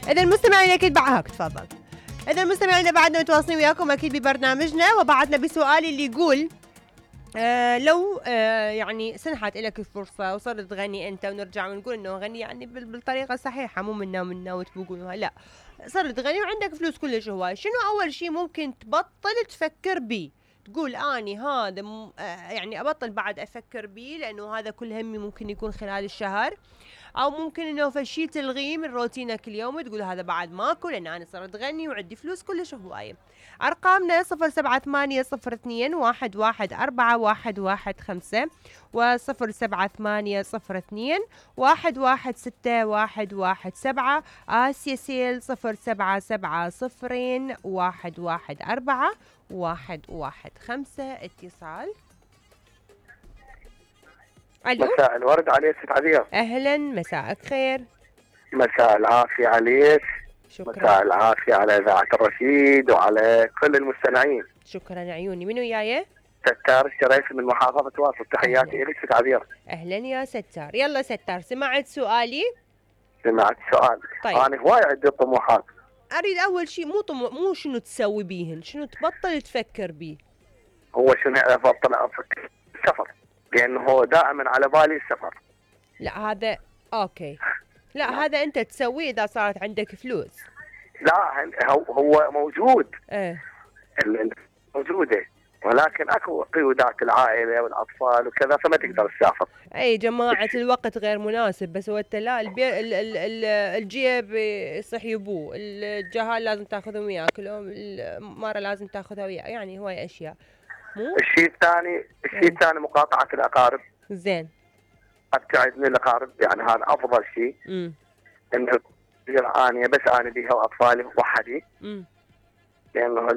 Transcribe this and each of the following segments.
إذا المستمعين أكيد بعهك تفضل. إذا المستمعين بعدنا متواصلين وياكم أكيد ببرنامجنا، وبعدنا بسؤالي اللي يقول لو يعني سنحت لك الفرصة وصرت تغني أنت، ونرجع ونقول إنه غني يعني بالطريقة الصحيحة، مو منا وتبوقونها، لا صرت تغني وعندك فلوس كلش هواي، شنو أول شيء ممكن تبطل تفكر بيه؟ تقول أني هذا يعني أبطل بعد أفكر بيه لأنه هذا كل همي ممكن يكون خلال الشهر، او ممكن انه فشي تلغيه من روتينك اليومي تقول هذا بعد ماكو لان انا صرت غني وعندي فلوس كلش هوايه. ارقامنا 078 0144115 و078 آسيا سيل 070 اتصال. ألو؟ مساء الورد عليك ست عبير. أهلا، مساءك خير. مساء العافية عليك. شكرا. مساء العافية على إذاعة الرشيد وعلى كل المستمعين. شكرا عيوني. منو وياي؟ ستار الشريف من محافظة واصل، تحياتي إليك ست عبير. أهلا يا ستار. يلا ستار، سمعت سؤالي؟ سمعت سؤال. طيب. أنا هواي عندي طموحات. أريد أول شيء مو شنو تسوي بيهن، شنو تبطل تفكر بيه. هو شنو أبطل أفكر؟ السفر، لأنه هو دائما على بالي السفر. لا هذا أوكي، لا هذا أنت تسويه إذا صارت عندك فلوس. لا هو موجود. إيه موجودة، ولكن اكو قيودات العائله والاطفال وكذا فما تقدر تسافر. اي جماعه الوقت غير مناسب، بس هو لا الجيب يصح يبوه، الجهال لازم تاخذهم وياك، المره لازم تاخذها وياك، يعني هواي اشياء. مو الشيء الثاني مقاطعه الاقارب. زين. ابتعد من الاقارب، يعني هذا افضل شيء. انه اني بس انا بيها واطفالي وحدي. لانه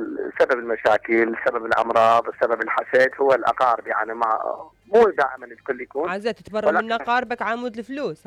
سبب المشاكل، سبب الامراض، سبب الحسد هو الاقارب، يعني مو دائما الكل يكون عزة تتبرى من اقاربك عمود الفلوس.